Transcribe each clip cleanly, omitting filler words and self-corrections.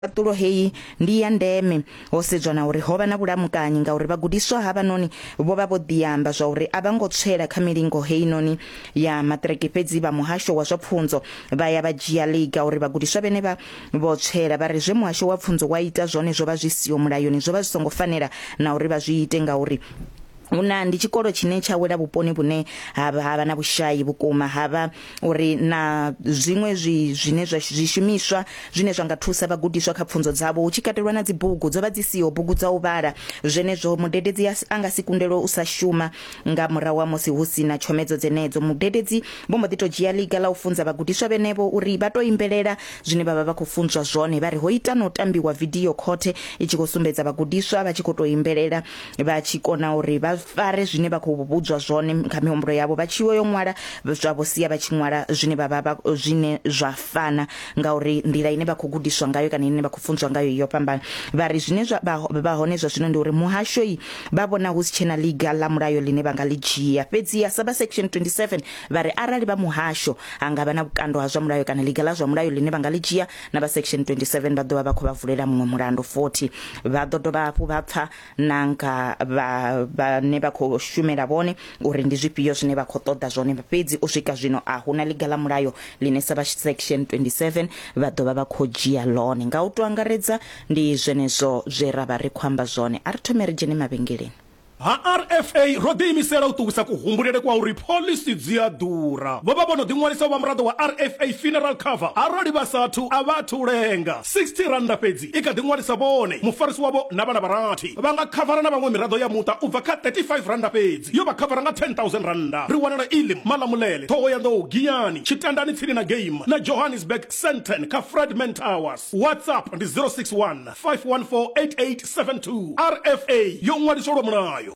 Khaṱulo heyi ndi ya ndeme ho sedzwa na uri ho vha na vhulamukanyi ngauri vhagudiswa havhanoni vho vha vho ḓiamba zwa uri a vha ngo tswela kha milingo heinoni ya maṱiriki fhedzi vha muhasho wa zwa pfunzo vha ya vha dzhia ḽiga uri vhagudiswa vhenevha vho tswela. Vha ri zwe muhasho wa pfunzo wa ita zwone zwo vha zwi siho mulayoni, zwo vha zwi songo fanela na uri vha zwi ite ngauri hu na ndi tshikolo tshine tsha wela vhuponi vhune ha vha na vhushai vhukuma, ha vha uri na zwiṅwe zwi zwine zwa zwishumiswa zwine zwa nga thusa vhagudiswa kha pfunzo dzavho hu tshi katelwa na dzibugu dzo vha dzi siho bugu dza u vhala. Zwenezwo mudededzi a nga si kundelwe u sa shuma nga murahu ha musi hu si na tshomedzo dzenedzo. Mudededzi vho mbo ḓi tou dzhia ḽiga ḽa u funza vhagudiswa vhenevho uri vha tou imbelela zwine vha vha vha khou funzwa zwone. Vha ri ho ita na u tambiwa vidio khothe i tshi khou sumbedza vhagudiswa vha tshi khou tou imbelela vha tshi kona uri vha fare zwine vha khou vhudzwa zwone kha mihumbulo yavho, vha tshi yo ṅwala zwa vho sia vha tshi ṅwala zwine vha vha zwine zwa fana ngauri nḓila ine vha khou gudiswa ngayo kana ine vha khou funzwa ngayo yo fhambana. Vha ri zwine zwa vha hone zwa zwino ndi uri muhasho vha vhona hu si tshena ḽiga ḽa mulayo ḽine vha nga ḽi dzhia. Fhedziha sa vha Section 27 vha ri arali vha muhasho ha nga vha na vhukando ha zwa mulayo kana ḽiga ḽa zwa mulayo ḽine vha nga ḽi dzhia, na vha Section 27 vha ḓo vha vha khou vha vulela muṅwe mulandu 40. Vha ḓo dovha hafhu vha pfa na nga vha vhane vha khou shumela vhone uri ndi zwifhio zwine vha khou ṱoḓa zwone. Fhedzi u swika zwino a hu na ḽiga ḽa mulayo ḽine sa vha Section 27 vha ḓo vha vha khou dzhia ḽone. Nga u tou angaredza ndi zwenezwo zwe ra vha ri khou amba zwone. A ri thome ri dzhene mavhengeleni. Ha RFA ro ḓiimisela u ṱuwisa kuhumbulele kwa uri phoḽisi dzi a ḓura. Vho vha vho no ḓiṅwalisa u vha muraḓo wa RFA Funeral Cover. Arali vha sa athu, a vha athu lenga. R60 fhedzi i kha ḓi ṅwalisa vhone, mufarisi wavho na vhana vha rathi. Vha nga khavara na vhaṅwe miraḓo ya muṱa u bva kha R35 fhedzi, yo vha khavara nga R10,000. Ri wanala Elim, Malamulele, Ṱhohoyanḓou, Giyani, Tshitandani tsini na Game na Johannesburg, Sandton kha Fredman Towers. WhatsApp ndi 061 514 8872. RFA yo ṅwaliswa lwa mulayo.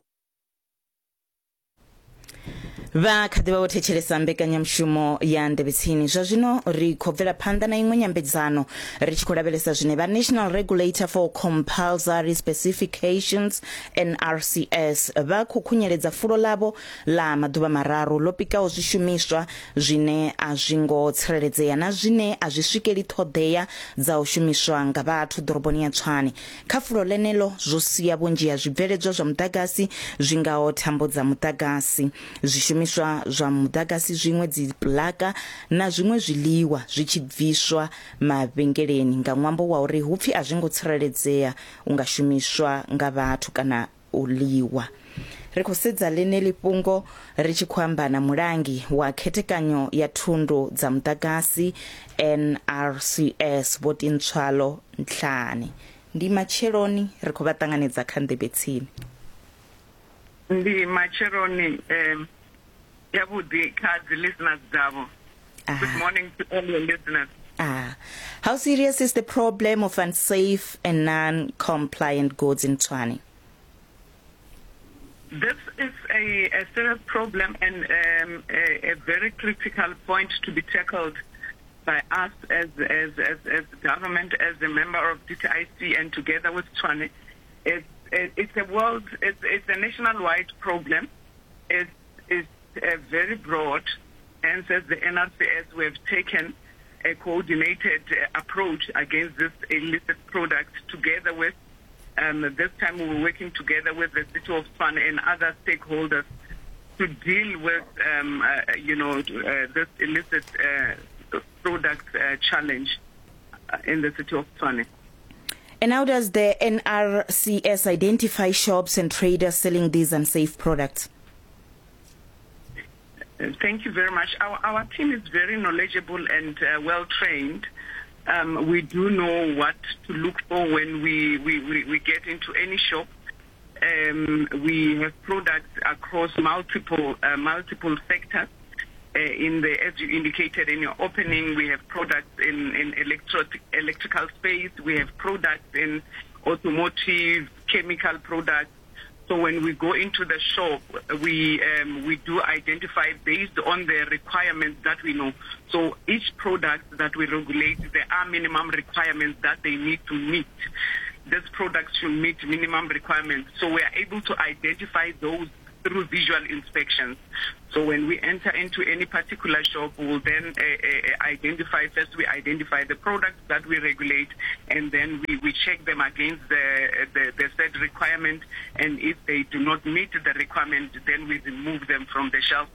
Vha kha ḓi vha vho thetshelesa mbekanyamushumo ya Nḓevhe Tsini. Zwa zwino ri khou bvela phanḓa na iṅwe nyambedzano ri tshi khou lavhelesa zwine vha National Regulator for Compulsory Specifications NRCS vha khou khunyeledza fulo ḽavho ḽa maḓuvha mararu ḽo pikaho zwishumiswa zwine a zwi ngo tsireledzea na zwine a zwi swikeli ṱhoḓea dza u shumiswa nga vhathu ḓoroboni ya Tshwane. Kha fulo ḽeneḽo, zwo sia vhunzhi ha zwibveledzwa zwa muḓagasi zwi ngaho thambo dza muḓagasi, zwishumiswa zwa muḓagasi zwiṅwe, dzipuḽaka na zwiṅwe zwiḽiwa zwi tshi bviswa mavhengeleni nga ṅwambo wa uri hu pfi a zwi ngo tsireledzea u nga shumiswa nga vhathu kana u ḽiwa. Ri khou sedza ḽeneḽi fhungo ri tshi khou amba na mulangi wa khethekanyo ya thundu dza muḓagasi NRCS Vho Tintswalo Ntlhane. Ndi matsheloni ri khou vha ṱanganedza kha Nḓevhe Tsini. Ndi matsheloni um yavhuḓi kha dzi listeners dzavho. Ah. Good morning to all your listeners. Ah. How serious is the problem of unsafe and non-compliant goods in Tshwane? This is a serious problem and a very critical point to be tackled by us as government, as a member of DTIC, and together with Tshwane. It's a world, it's a nationwide problem. It's very broad. Hence, as the NRCS, we have taken a coordinated approach against this illicit product together with, this time we were working together with the City of Tshwane and other stakeholders to deal with this illicit product challenge in the City of Tshwane. And how does the NRCS identify shops and traders selling these unsafe products? Thank you very much. Our team is very knowledgeable and well-trained. We do know what to look for when we get into any shop. We have products across multiple sectors. As you indicated in your opening, we have products in electrical space. We have products in automotive, chemical products. So when we go into the shop, we do identify based on the requirements that we know. So each product that we regulate, there are minimum requirements that they need to meet. This product should meet minimum requirements. So we are able to identify those through visual inspections. So when we enter into any particular shop, we'll then identify, first we identify the products that we regulate, and then we check them against the said requirement, and if they do not meet the requirement, then we remove them from the shelf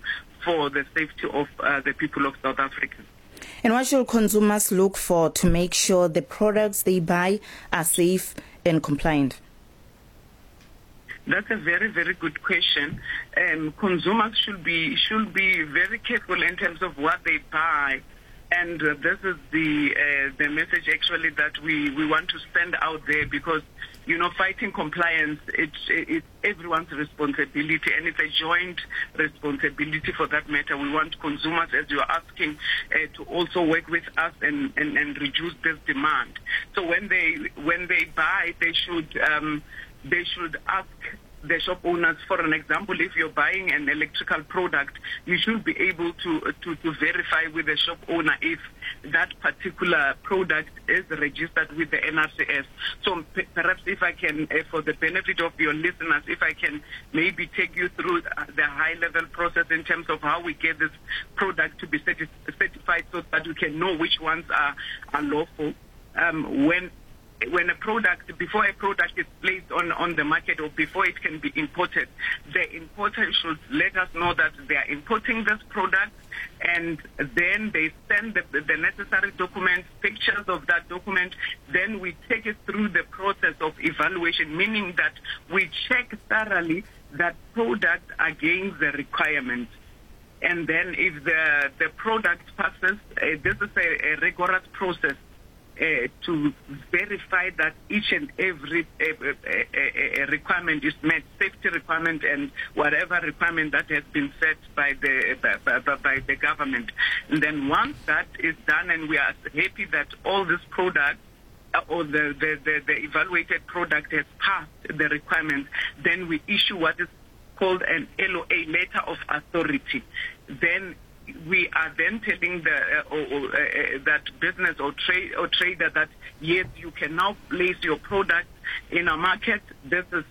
for the safety of the people of South Africa. And what should consumers look for to make sure the products they buy are safe and compliant? That's a very, very good question. Consumers should be very careful in terms of what they buy. And this is the message actually that we want to send out there, because, you know, fighting compliance, it's everyone's responsibility, and it's a joint responsibility for that matter. We want consumers, as you're asking, to also work with us and reduce this demand. So when they buy, they should ask the shop owners. For an example, if you're buying an electrical product, you should be able to verify with the shop owner if that particular product is registered with the NRCS. So perhaps if I can, for the benefit of your listeners, if I can maybe take you through the high-level process in terms of how we get this product to be certified so that we can know which ones are lawful. When a product, before a product is placed on the market or before it can be imported, the importer should let us know that they are importing this product, and then they send the necessary documents, pictures of that document. Then we take it through the process of evaluation, meaning that we check thoroughly that product against the requirements. And then if the product passes, this is a rigorous process to verify that each and every requirement is met, safety requirement and whatever requirement that has been set by the government. And then once that is done, and we are happy that all this product or the evaluated product has passed the requirements, then we issue what is called an LOA, letter of authority. Then we are then telling the that business or trade or trader that yes, you can now place your product in our market. This is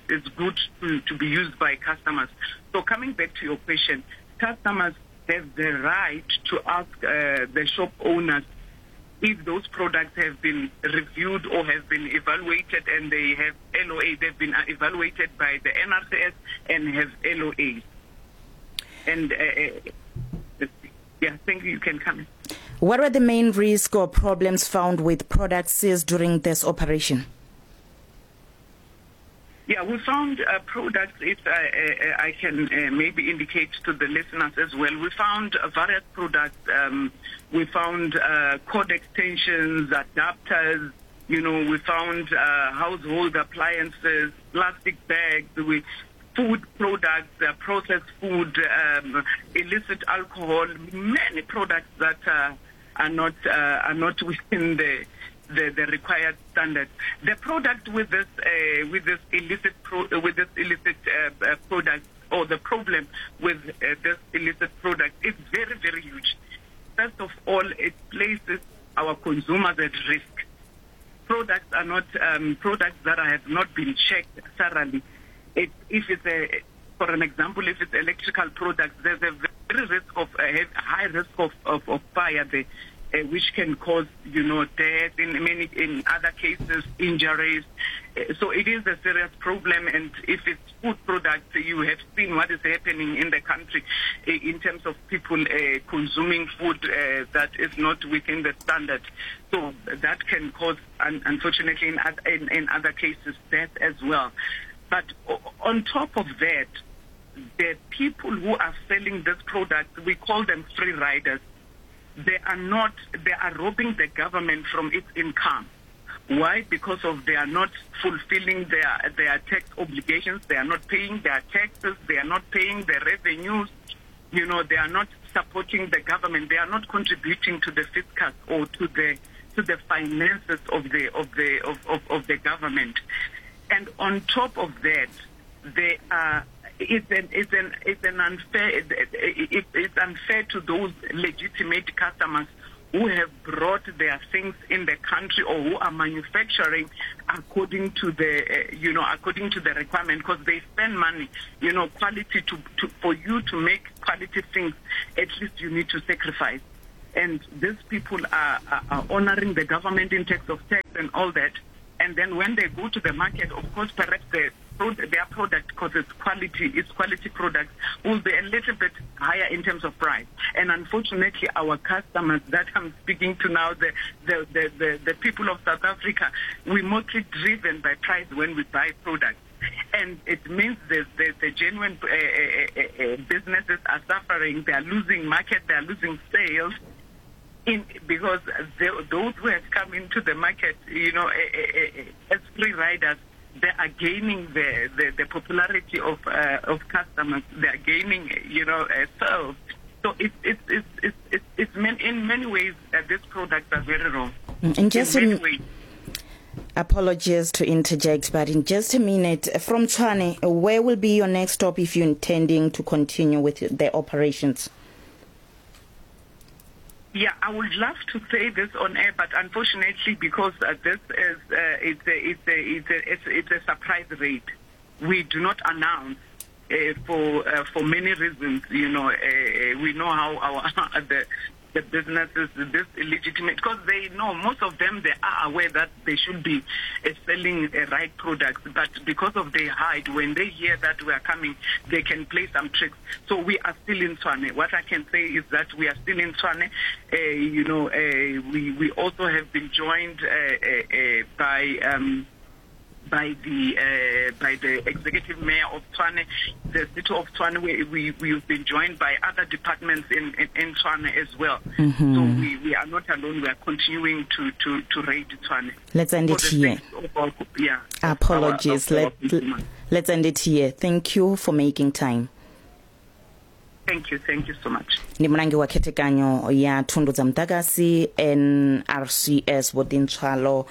it's good to be used by customers. So coming back to your question, customers have the right to ask the shop owners if those products have been reviewed or have been evaluated and they have LOA, they've been evaluated by the NRCS and have LOAs. And, yeah, thank you. You can come in. What were the main risks or problems found with products seized during this operation? Yeah, we found products, if I can maybe indicate to the listeners as well, we found various products. We found cord extensions, adapters, you know, we found household appliances, plastic bags, food products, processed food, illicit alcohol, many products that are not within the required standard. The product with this illicit product, or the problem with this illicit product is very, very huge. First of all, it places our consumers at risk. Products are not products that have not been checked thoroughly. If it's for an example, if it's electrical products, there's a very risk of high risk of fire there, which can cause, you know, death, in other cases, injuries. So it is a serious problem. And if it's food products, you have seen what is happening in the country in terms of people consuming food that is not within the standard. So that can cause, unfortunately, in other cases, death as well. But on top of that, the people who are selling this product, we call them free riders. They are robbing the government from its income. Why? Because of they are not fulfilling their tax obligations. They are not paying their taxes. They are not paying their revenues. You know, they are not supporting the government. They are not contributing to the fiscus or to the finances of the government. And on top of that, they are it's unfair to those legitimate customers who have brought their things in the country or who are manufacturing according to the, you know, according to the requirement, because they spend money, you know, quality to, to, for you to make quality things, at least you need to sacrifice. And these people are, are, are honoring the government in terms of tax and all that. And then when they go to the market, of course, perhaps the their product, because it's quality, it's quality products, will be a little bit higher in terms of price. And unfortunately, our customers that I'm speaking to now, the, the, the, the, the people of South Africa, we're mostly driven by price when we buy products. And it means the, the, the genuine businesses are suffering. They are losing market, they are losing sales. In, because they, those who have come into the market, you know, as free riders, they are gaining the, the, the popularity of, of customers. They are gaining, you know, sales. So it's, it's, it's, it's, it's, it's in many ways these products are very wrong. And just in many ways. Apologies to interject, but in just a minute, from Tshwane, where will be your next stop if you're intending to continue with the operations? Yeah, I would love to say this on air, but unfortunately, because this is it's a, it's a, it's a, it's, it's a surprise raid. We do not announce for for many reasons. You know, we know how our the the businesses, this illegitimate, because they know, most of them, they are aware that they should be selling right products, but because of their hide, when they hear that we are coming, they can play some tricks. So we are still in Tshwane. What I can say is that we are still in Tshwane. You know, we, we also have been joined by... by the by the executive mayor of Tshwane, the city of Tshwane. We, we, we've been joined by other departments in, in, in Tshwane as well. Mm-hmm. So we, we are not alone. We are continuing to, to, to raid Tshwane. Let's end it here. Our, yeah, Apologies. Our, our Let, let's end it here. Thank you for making time. Thank you, thank you so much. Ndi mulangi wa khethekanyo ya thundu dza muḓagasi NRCS Vho Ḓintswalo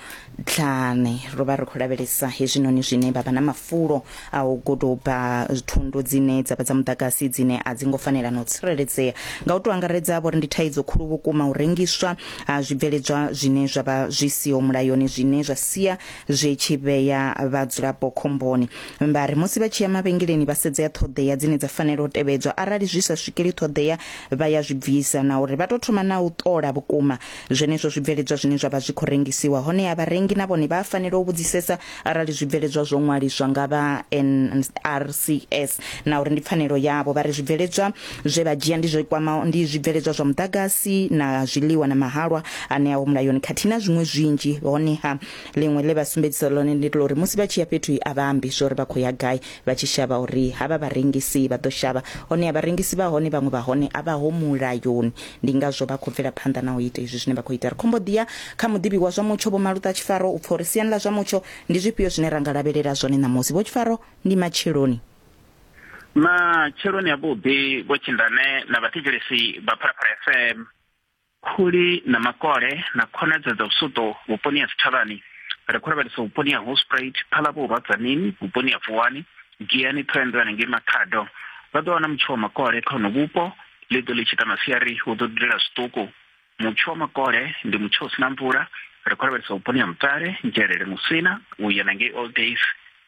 Dlane. Ro vha ri khou lavhelesa hezwinoni zwine vha vha na mafulo a u guduba thundu dzine dza vha dza muḓagasi dzine a dzi ngo fanela na u tsireledzea. Nga u tou angaredza vho ri ndi thaidzo khulu vhukuma u rengiswa ha zwibveledzwa zwine zwa vha zwi siho mulayoni zwine zwa sia zwi tshi vhea vhadzulapo khomboni. Vha ri musi vha tshi ya mavhengeleni vha sedzea ṱhoḓea dzine dza fanela u tevhedzwa, arali zwi sa swikeli ṱhoḓea vha ya zwi bvisa, na uri vha tou thoma na u ṱola vhukuma zwenezwo zwibveledzwa zwine zwa vha zwi khou rengisiwa. Honeha vharengi na vhone vha fanela u vhudzisesa arali zwibveledzwa zwo ṅwaliswa nga vha NRCS, na uri ndi pfanelo yavho. Vha ri zwibveledzwa zwe vha dzhia ndi zwo kwamaho ndi zwibveledzwa zwa muḓagasi na zwiḽiwa na mahalwa ane a ho mulayoni khathihi na zwiṅwe zwinzhi. Honeha ḽiṅwe ḽe vha sumbedzisa ḽone ndi ḽa uri musi vha tshi ya fhethu a vha ambi zwo uri vha khou ya gai, vha tshi shavha uri havha vharengisi vha ḓo shavha. Honeha vharengisi vha hone vhaṅwe vha hone a vha ho mulayoni, ndi ngazwo vha khou bvela phanḓa na u ita izwi zwine vha khou ita. Ri khombo ḓiya kha muḓivhi wa zwa mutsho Vho Maluta Tshifaro u pfa uri siani ḽa zwa mutsho ndi zwifhio zwine ra nga lavhelela zwone ṋamusi. Vho Tshifaro, ndi matsheloni. Matsheloni avhuḓi Vho Tshindane na vhathetshelesi vha Phalaphala FM. Khuli na makole na khonadzeo dza vhusuṱo vhuponi ha Sithavhani. Ri khou lavhelesa vhuponi ha Hoedspruit, Phalavhurwa, Tzaneen, vhuponi ha Vuwani, Giyani, Thohoyandou hanengei Makhado. Vha ḓo wana mutsho wa makole kha hono vhupo, ḽi ḓo ḽi tshi ita masiari hu ḓo dudela zwiṱuku. Mutsho wa makole ndi mutsho u si na mvula. Ri khou lavhelesa vhuponi ha Mutale, Nzhelele, Musina u ya nangei Old Days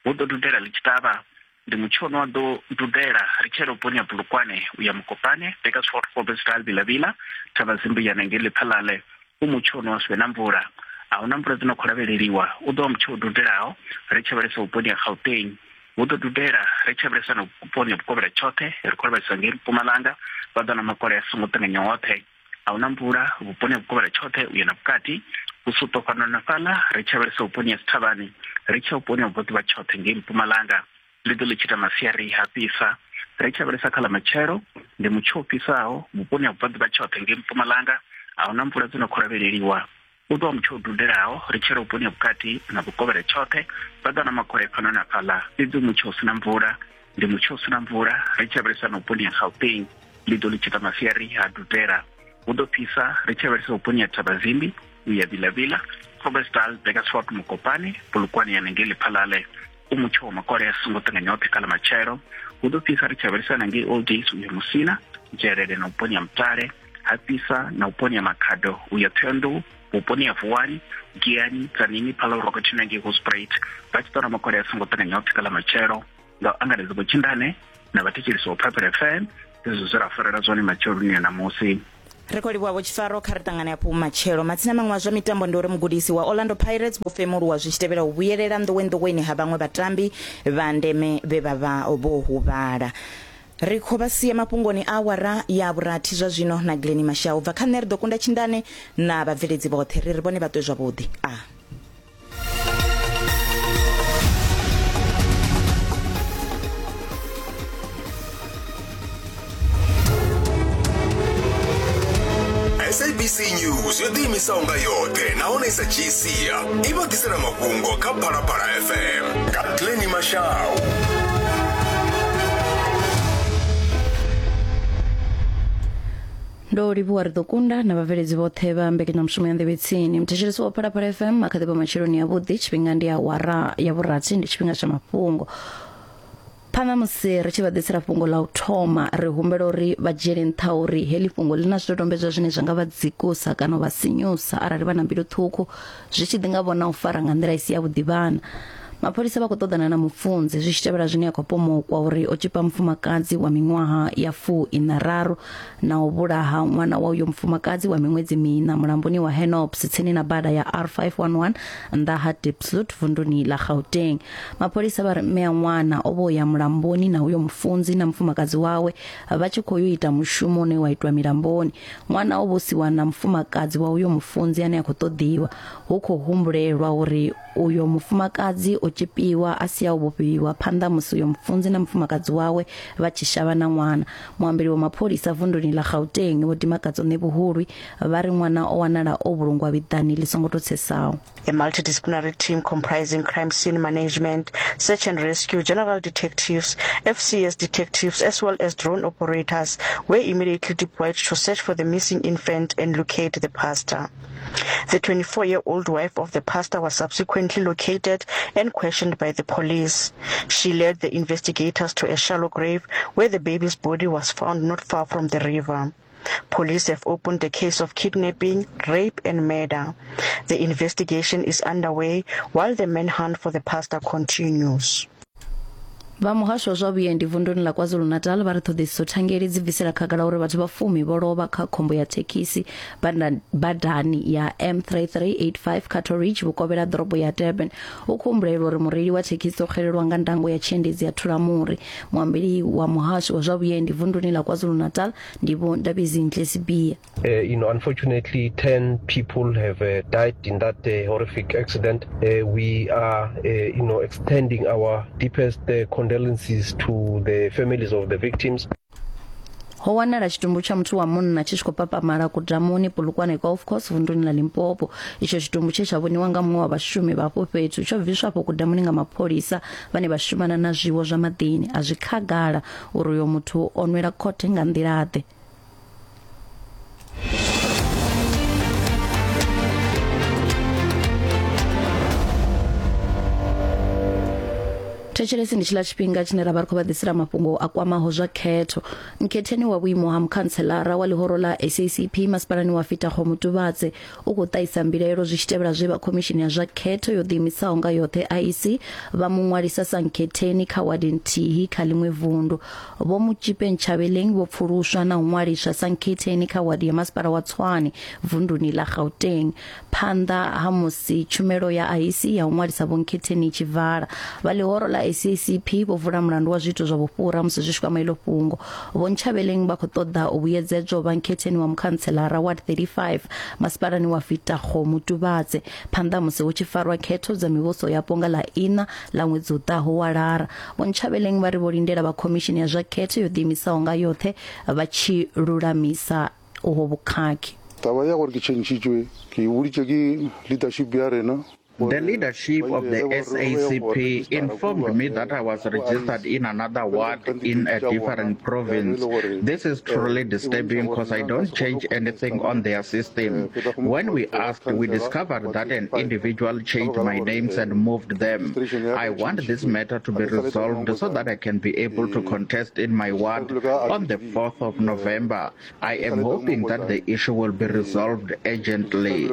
hu ḓo dudela ḽi tshi ṱavha. Ndi mutsho une wa ḓo dudela ri tshi yela vhuponi ha Polokwane u ya Mokopane, Burgersfort, Khobbesdal, Vila-Vila, Thabazimbi u ya nangei Lephalale. U mutsho une wa si vhe na mvula. A hu na mvula dzi no khou lavheleliwa. U ḓo vha mutsho u dudelaho ri tshi lavhelesa vhuponi ha Gauteng. Hu ḓo dudela ri tshi lavhelesa na vhuponi ha vhukovhela tshoṱhe, ri khou lavhelesa ngei Mpumalanga, vha ḓo na makole a songo ṱanganya oṱhe. A hu na mvula vhuponi ha vhukovhela tshoṱhe u ya na vhukati. Vhusuṱo fhano na fhaḽa ri tshi lavhelesa vhuponi ha Sithavhani, ri tshi ya vhuponi ha vhubvaḓuvha tshoṱhe ngei Mpumalanga. Ḽi ḓo ḽi tshi ita masiari ha fhisa. Ri tshi lavhelesa kha ḽa matshelo, ndi mutsho u fhisaho vhuponi ha vhubvaḓuvha tshoṱhe ngei Mpumalanga. A hu na mvula dzi no khou lavheleliwa. U ḓo vha mutsho u dudelaho ri tshi yela vhuponi ha vhukati na vhukovhela tshoṱhe. Vha ḓo wana makole fhano na fhaḽa, fhedzi mutsho u si na mvula. Ndi mutsho u si na mvula ri tshi lavhelesa na vhuponi ha Gauteng. Ḽi ḓo ḽi tshi ita masiari ha dudela. Hu ḓo fhisa ri tshi lavhelesa vhuponi ha Thabazimbi u ya Vila-Vila, Khobbesdal, Burgersfort, Mokopane, Polokwane ya nangei Lephalale. U mutsho wa makole a songo ṱanganya oṱhe kha ḽa matshelo. Hu ḓo fhisa ri tshi lavhelesa nangei Old Days u ya Musina, Nzhelele na vhuponi ha Mutale. Ha fhisa na vhuponi ha Makhado u ya Thohoyandou, vhuponi ha Vuwani, Giyani, Tzaneen, Phalavhurwa khathihi na ngei Hoedspruit vha tshi ṱola makole a songo ṱanganyaho pfi kha ḽa matshelo. Nga u angaredza Vho-Tshindane na vhathetshelesi vha Phalaphala FM, hezwo zwe ra farela zwone matsheloni a ṋamusi. Ri khou livhuwa Vho Tshifaro, kha ri ṱangane hafhu matshelo. Matsina maṅwe a zwa mitambo ndi uri mugudisi wa Orlando Pirates Vho Femuluwa zwi tshi tevhela u vhuyelela nḓowenḓoweni ha vhaṅwe vhatambi vha ndeme vhe vha vha vho huvhala. Ri khou vha sia mafhungoni a awara ya vhurathi zwa zwino na Glennie Mashau. Bva kha nṋe ri ḓo kunda Tshindane na vhabveledzi vhoṱhe. Ri ri vhone vha ṱwe zwavhuḓi. A. SABC News yo ḓiimisaho nga yoṱhe nahone i sa dzhii sia i vha ḓisela mafhungo kha Phalaphala FM nga Glennie Mashau. Ndo livhuwa ri ḓo kunda na vhabveledzi vhoṱhe vha mbekanyamushumo ya nḓevhe tsini. Muthetshelesi wa Phalaphala FM a kha ḓi vha matsheloni avhuḓi, tshifhinga ndi awara ya vhurathi, ndi tshifhinga tsha mafhungo. Phanḓa musi ri tshi vha ḓisela fhungo ḽa u thoma, ri humbela uri vha dzhiele nṱha uri heḽi fhungo ḽi na zwidodombedzwa zwine zwa nga vha dzikusa kana u vha sinyusa arali vha na mbilu ṱhukhu, zwi tshi ḓi nga vhona u fara nga nḓila i si yavhuḓi vhana. Mapholisa vha khou ṱoḓana na mufunzi zwi tshi tevhela zwine a khou pomokwa uri o tshipa mufumakadzi wa miṅwaha ya fu iṋa raru na u vhulaha ṅwana wa uyo mufumakadzi wa miṅwedzi miṋa mulamboni wa Henops tsini na bada ya R511 nnḓa ha Diepsloot vunduni ḽa Gauteng. Mapholisa vha ri mme a ṅwana o vho ya mulamboni na uyo mufunzi na mufumakadzi wawe vha tshi khou yo ita mushumo une wa itwa milamboni. Ṅwana o vho siwa na mufumakadzi wa uyo mufunzi ane a khou ṱoḓiwa. Hu khou humbulelwa uri Uyo mufumakadzi o tshipiwa a sia o vhofhiwa phanḓa musi uyo mufunzi na mufumakadzi wawe vha tshi shavha na ṅwana. Muambeli wa mapholisa vunduni ḽa Gauteng Vho Dimakatso Ṋevhuhulwi vha ri ṅwana o wanala o vhulungwa vhiḓani ḽi songo tou tsesaho. A multidisciplinary team comprising crime scene management, search and rescue, general detectives, FCS detectives as well as drone operators were immediately deployed to search for the missing infant and locate the pastor. The 24-year-old wife of the pastor was subsequently located and questioned by the police. She led the investigators to a shallow grave where the baby's body was found not far from the river. Police have opened a case of kidnapping, rape and murder. The investigation is underway while the manhunt for the pastor continues. Vha muhasho wa zwa vhuendi vunduni ḽa KwaZulu-Natal vha ri ṱhoḓisiso thangeli dzi bvisela khagala uri vhathu vha fumi vho lovha kha khombo ya thekhisi badani ya M3385 Cato Ridge vhukovhela ḓorobo ya Durban. Hu khou humbulelwa uri mureili wa thekhisi o xelelwa nga ndango ya tshiendedzi ya thulamuri. Muambeli wa muhasho wa zwa vhuendi vunduni ḽa KwaZulu-Natal ndi Vho Ndabezinhle Sibiya. Uh, you know, unfortunately, 10 people have uh, died in that uh, horrific accident. Uh, we are, uh, you know, extending our deepest uh, condolences to the families of the victims. Ho wanala tshitumbu tsha muthu wa munna tshi tshi khou papamala kudamuni Polokwane Golf Course vunduni ḽa Limpopo. Itsho tshitumbu tshe tsha vhoniwa nga muṅwe wa vhashumi vha afho fhethu tsho bviswa afho kudamuni nga mapholisa vhane vha shumana na zwiwo zwa maḓini. A zwi khagala uri uyo muthu o nwela khothe nga nḓila-ḓe. Thetshelesi ndi tshiḽa tshifhinga tshine ra vha ri khou vha ḓisela mafhungo a kwamaho zwa khetho. Nkhetheni wa vhuimo ha mukhantselara wa ḽihoro ḽa SACP masipalani wa Fitago Mutubatse u khou ṱahisa mbilaelo zwi tshi tevhela zwe vha khomishini ya zwa khetho yo ḓiimisaho nga yoṱhe IEC vha mu ṅwalisa sa nkhetheni kha wadi nthihi kha ḽiṅwe vundu. Vho Mutshipe Ntshavheleng vho pfuluswa na u ṅwaliswa sa nkhetheni kha wadi ya masipala wa Tshwane vunduni ḽa Gauteng phanḓa ha musi tshumelo ya IEC ya u ṅwalisa vho nkhetheni i tshi vala. Vha ḽihoro ḽa SACP vho vula mulandu wa zwiito zwa vhufhura musi zwi tshi kwama iḽo fhungo. Vho Ntshavheleng vha khou ṱoḓa u vhuyedzedzwa u vha nkhetheni wa mukhantselara ward 35 masipalani wa Fetakgomo Tubatse phanḓa ha musi hu tshi farwa khetho dza mivhuso yapo nga ḽa iṋa ḽa ṅwedzi u ḓaho wa Lara. Vho Ntshavheleng vha ri vho lindela vha khomishini ya zwa khetho yo ḓiimisaho nga yoṱhe vha tshi lulamisa uho vhukhakhi. Taba ya gore ke tšhentšhitšwe ke e boditše ke leadership ya rena. The leadership of the SACP informed me that I was registered in another ward in a different province. This is truly disturbing because I don't change anything on their system. When we asked, we discovered that an individual changed my names and moved them. I want this matter to be resolved so that I can be able to contest in my ward on the 4th of November. I am hoping that the issue will be resolved urgently.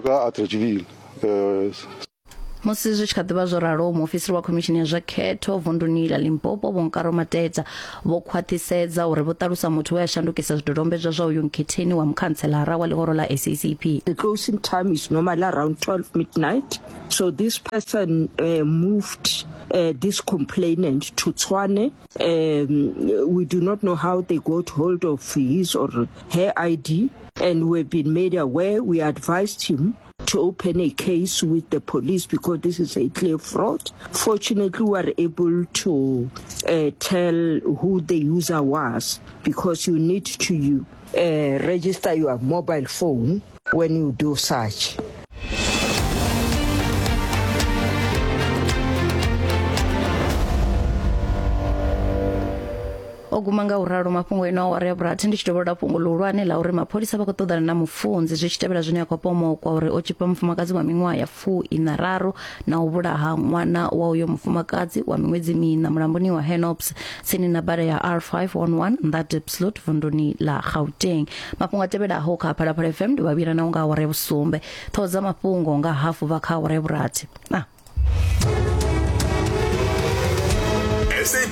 Musi zwi tshi kha ḓivha zwo ralo, muofisiri wa khomishini ya zwa khetho vunduni ḽa Limpopo Vho Nkaro Matedza vho khwaṱhisedza uri vho ṱalusa muthu we a shandukisa zwidodombedzwa zwa uyu nkhetheni wa mukhantselara wa ḽihoro ḽa SACP. The closing time is normally around 12 midnight. So this person uh, moved uh, this complainant to Tshwane. Um, we do not know how they got hold of his or her ID, and we've been made aware. We advised him to open a case with the police because this is a clear fraud. Fortunately, we are able to uh, tell who the user was because you need to uh, register your mobile phone when you do such. O guma nga u ralo mafhungo ino awara ya vhurathi ndi tshi dovholola fhungo ḽihulwane ḽa uri mapholisa vha khou ṱoḓana na mufunzi zwi tshi tevhela zwine a khou pomokwa uri o tshipa mufumakadzi wa miṅwaha ya fu ina raru na u vhulaha ṅwana wa uyo mufumakadzi wa miṅwedzi miṋa mulamboni wa Henops tsini na bada ya R511 nnḓa Diepsloot vunduni ḽa Gauteng. Mafhungo a tevhelaho kha Phalaphala FM ndi vhavhila na nga awara ya vhusumbe. Ṱhoho dza mafhungo nga hafu vha kha awara ya vhurathi. Ah. SABC.